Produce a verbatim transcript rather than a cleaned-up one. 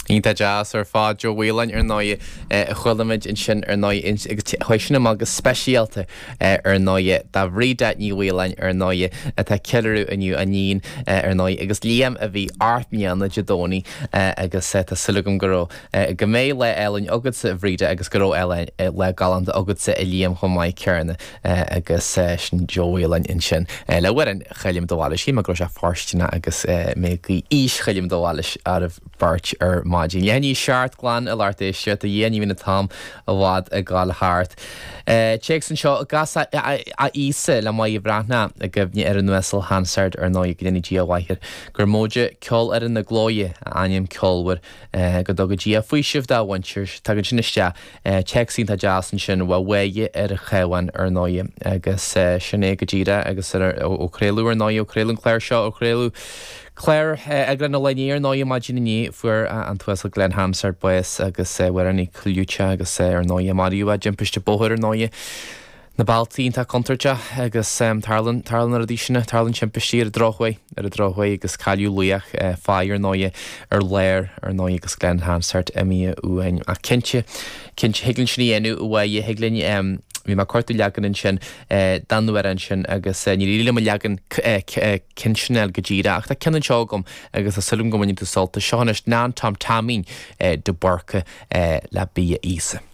Iontach deas ar fad Joe Whelan ar ndóigh a chuala muid ansin ar ndóigh agus chuaigh sin amach go speisialta ar ndóigh do Bhríde Ní Mhaoláin ar ndóigh atá ag ceiliúradh inniu a níon ar ndóigh agus Liam a bhí ocht mbliana Dé Domhnaigh agus tá súil agam go raibh go mbeidh lá álainn agatsa a Bhríde agus go raibh lá galánta agatsa a Liam chomh maith céanna agus sin Joe Whelan ansin le amhrán Choilm de Bhailís shíl mé go raibh sé fóirsteanach agus mé ag guí aois Choilm de Bhailís oraibh beirt ar maidin. Leath i ndiaidh a seacht glan a lucht éisteachta, a Dhia ní bhíonn an t-am i bhfad ag gabháil thart. Téacs anseo, Gach a Íosa le Máire Bhreathnach i gcuimhne ar an Uasal Hansard ar ndóigh, go ndéana Dia a mhaith air, gur móide Ceolfhoireann na Glóire a ainm ceolmhar, go dtuga Dia faoiseamh dá mhuintir. Tagann sin isteach. Téacs iontach deas ansin ó Mháire ar an Chabhán ar ndóigh agus sin é go díreach agus ó craoladh ar ndóigh, ó craoladh an clár seo, ó craoladh clár eagrán an lae inné ar ndóigh maidin inné fuair an tUasal Glen Hansard bás agus amhránaí clúiteach agus ar ndóigh maraíodh i dtimpiste bóthair ar ndóigh. Na bealtaí iontach contúirteach agus tarlaíonn, tarlaíonn na rudaí sin, tarlaíonn timpistí ar an drochuair, ar an drochuair agus cailleadh laoch fear ar ndóigh ar lár ar ndóigh agus Glen Hansard imithe uainn. Ach cinnte, cinnte thig linn sin a dhéanamh a Mháire, thig linn, bhí mé ag cuartú leagan ansin den amhrán sin agus níor éirigh liom an leagan cinnte sin a fháil go díreach ach tá ceann anseo agam agus tá súil agam go mbainfidh tú sult as. Seo anois Nan Tom Taimín de Búrca le Bia Íosa.